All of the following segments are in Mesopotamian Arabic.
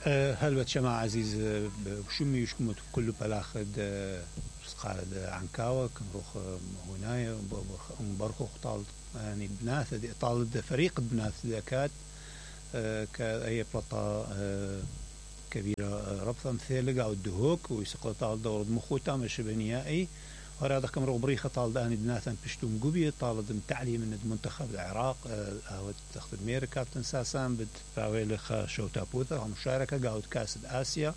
هلبت شما عزيز شمي يشكمت كل بلاخد قال عنكاوة كنروخ هنايا برخوخ طال يعني بناث طال فريق بناث ذكات كأي بلطة كبيرة ربطة مثل أو الدهوك ويسقط طال دور مخوتا مش بنيائي وهذا كم ربريخة طال داني بناثا بشتوم جوبي طال دم تعليم من المنتخب العراق أو تاخذ أمريكا تنساسان بتفاويل شوتا بوثا مشاركة قاود كاس آسيا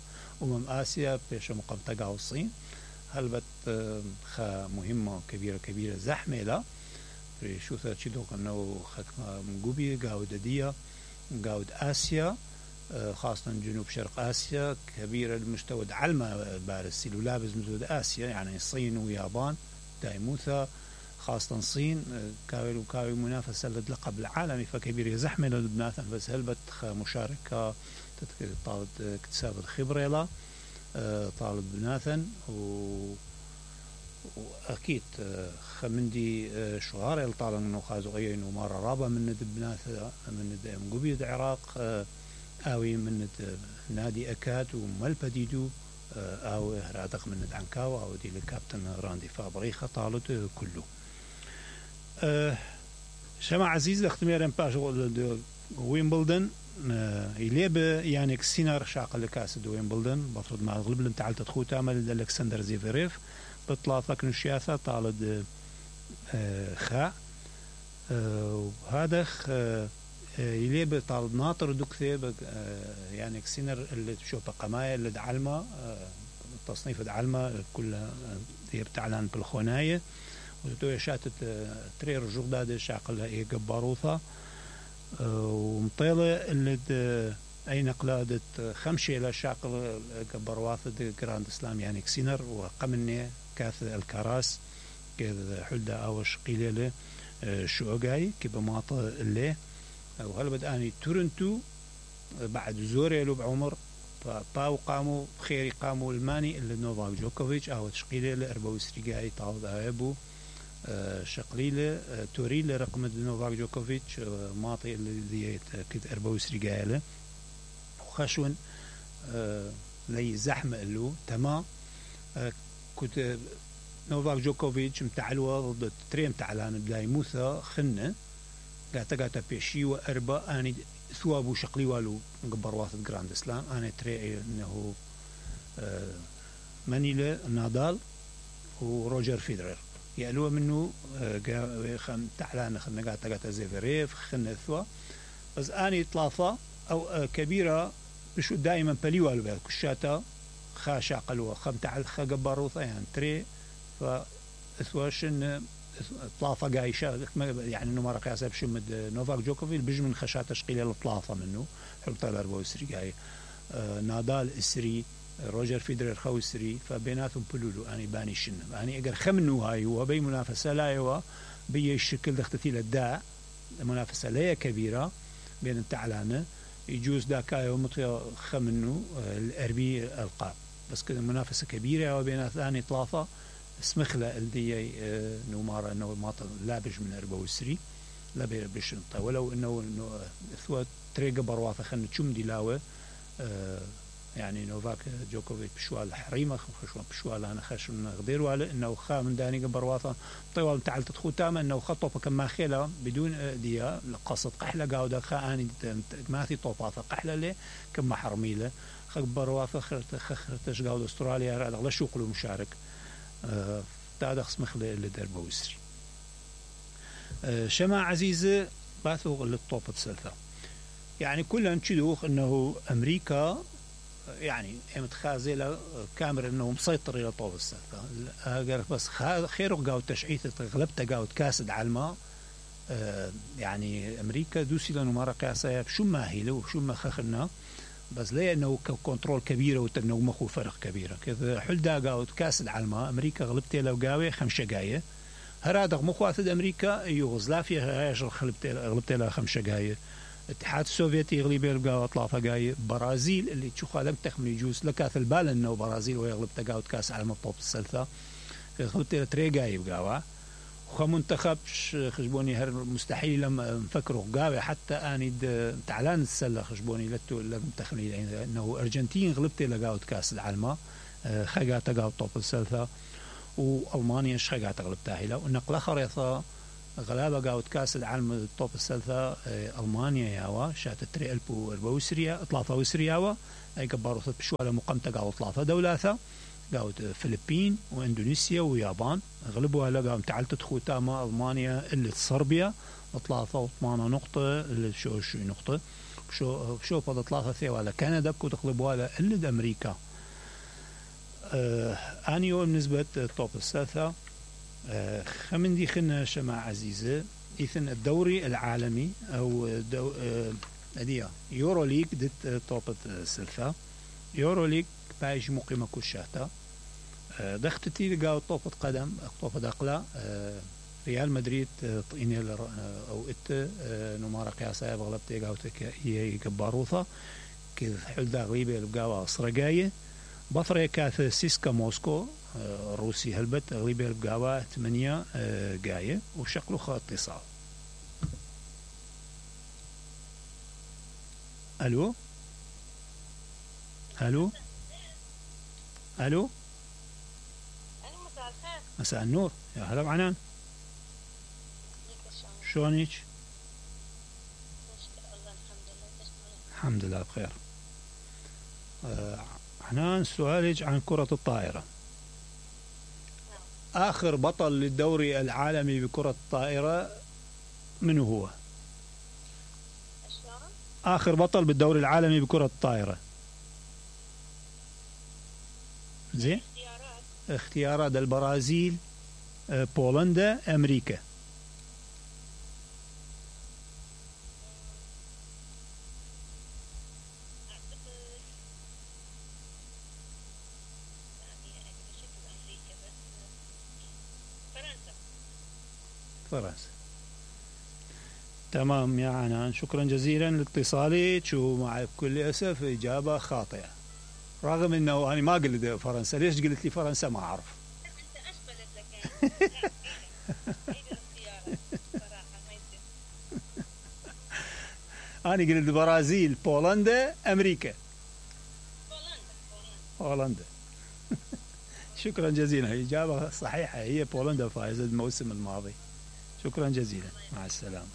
آسيا بيش مقامتا قاود الصين هلبت خا مهمة كبيرة زحمة لا شو ثا تشدوق إنه خك مجوبي قاود ديا قاود آسيا خاصة جنوب شرق آسيا كبيرة المستوى علمة بارس لابز مزود آسيا يعني الصين واليابان دايموثا خاصة الصين كاوي منافسة للقب العالمي فكبيرة زحمة للبناث بس هلبت مشاركة طالب اكتساب الخبرة لا طالب بناثا وأكيد خمندي شغار الطالب إنه خازوقية إنه مرة رابع من بناث من مجوبي العراق أوي من نادي أكاد وملبديدو أو هرادق من عنكاو أو دي الكابتن راندي فابريخة طالت كله شمع عزيز اختمير باش ويمبلدن يليب يعني كسينار شاق لكاس ويمبلدن بفرض ما غلب لن تعال تدخل تعمل الكسندر زيفيريف بطلع ثقن الشياثة طالد خاء وهذا يليب طالب ناطر دكثيب يعني كسينر اللي تشوف قماية اللي دعلمة تصنيف دعلمة كلها هي بتعلن بالخوناية وتوي شاتت ترير جرداد الشاقل هي جباروثة ومطيلة اللي أي نقلة خمشة إلى شاقل جبارواثة جراند إسلام يعني كسينر وقمني كاث الكراس كذا حلدة أوش قليلة شوقاي كبماطة اللي وهلا بدأني تورنتو بعد زوري له بعمر فباو قاموا بخيري قاموا الماني اللي نوفاك جوكوفيتش أو تشقيلة لأربعة وسرقاي طاود أبو شقليلة توريلة رقم نوفاك جوكوفيتش ماطي اللي ديت كده أربعة وسرقاي له وخشون لي زحمة له تمام كنت نوفاك جوكوفيتش متعلوة ضد تريم تعلان بداي موثى خنة قاتا بيشي وأربع أنا ثوابو شقلي والو قبر واثد جراند إسلام أنا تري إنه مانيلا نادال وروجر فيدرر يقلوا منه خم تعلان خلنا قاتا زيفريف خلنا ثوا بس أنا طلافة أو كبيرة بشو دائما بليوالو بها كشاتا خاشا قلوة خم تعال خجبر وثا يعني تري فثواشن طلافة قايشة يعني إنه مرة قياسة بشمد نوفاك جوكوفيل بيجي من خشات تشقيلة الطلافة منه حلطة الأربعة وسري قاي نادال السري روجر فيدرر خو السري فبيناتهم بلولو أنا باني شنة أنا أقدر خمنو هاي وبي منافسة لا يوا بي الشكل دختتي للداء منافسة لا كبيرة بين التعلانة يجوز داكاي ومطيا خمنو الأربي القاب بس كده منافسة كبيرة وبين ثاني طلافة اسمخلة الدي نومارا انه ما لابج من 24 لا بيش ولو انه ثوات تريقة برواثة خلنا تشم دلاوة يعني نوفاك جوكوفيتش بشوال حريمة خشوان بشوال أنا خشون غدير وعلى إنه خا من داني برواثة طوال تعال تدخل تاما إنه خطوة كما خيلة بدون ديا قصة قحلة قاودة خا أني ما في طوباثة قحلة ليه كما حرميلة خا برواثة خرتش قاودة أستراليا هذا لا شغله مشارك تعال خصمخ لدربه وسري شمع عزيزة باثوغ للطوبة سلفة يعني كلها نشدوخ إنه أمريكا يعني متخازلة كاميرا إنه مسيطر إلى طوب السلفة بس خيره قاود تشعيثة غلبته قاود كاسد علما يعني أمريكا دوسي لأنه مرة قياسية بشو ما هيله وشو ما خخنا بس ليه إنه كنترول كبيرة وتنو مخو فرق كبيرة كذا حلدا قاود كاسد علما أمريكا غلبته لو قاوي 5 جاية هرادق مخواثد أمريكا يوغوسلافيا هايش غلبته لها 5 جاية الاتحاد السوفيتي يغلب يلقى اطلافه جاي برازيل اللي تشوفها لم تخمن يجوز لكاث البال انه برازيل ويغلب تقاوت كاس عالم الطوب السلفه غلبت تري جاي بقاوا وخمنتخب خشبوني هر مستحيل لما نفكروا قاوي حتى اني تعلان السله خشبوني لتو المنتخبين انه ارجنتين غلبتي لقاوت كاس العالم خقات قاوت طوب السلفه والمانيا خقات غلبتها هلا والنقله خريطه غلابه قاوت كاس العالم طوب السلفه المانيا ياوا شات تري البو وسريا اطلافه وسرياوا اي كبارو بشو على مقامته قاوت اطلافه دولاثه قاوت الفلبين واندونيسيا ويابان غلبوها لقاهم تعلت خوتاما المانيا اللي صربيا اطلافه 8 نقطه اللي شو نقطه شو فضل اطلافه ثيوا على كندا بكو تغلبوها اللي امريكا انيو بالنسبه توب السلفه خمن دي خنا شماعة عزيزة إذن الدوري العالمي أو أدية يورو ليج دت توبة السلفة يورو ليج بايش مقيمة كشاتا دختتي لقاو طوبة قدم طوبة دقلة ريال مدريد طيني أو إت نمارة قياسة بغلبتي قاوتك هي كباروثة كذ حل دا غريبة لقاوها صرقاية بطريقة كاث سيسكا موسكو روسي هلبت غريبة لقاوها 8 قاية وشكله خط اتصال. ألو ألو ألو مساء الخير. مساء النور يا هلا بعنان شلونك؟ الحمد لله بخير. عنان سؤالك عن كرة الطائرة. آخر بطل للدوري العالمي بكرة الطائرة من هو؟ آخر بطل بالدوري العالمي بكرة الطائرة. زين؟ اختيارات البرازيل بولندا أمريكا. فرنسا. تمام يا عنان شكرا جزيلا لاتصالك ومع كل أسف إجابة خاطئة رغم أنه أنا ما قلت فرنسا. ليش قلت لي فرنسا ما أعرف. أنت إيش قلت لك أنا قلت البرازيل بولندا أمريكا. بولندا. شكرا جزيلا إجابة صحيحة هي بولندا فائزة الموسم الماضي. شكرا جزيلا مع السلامة.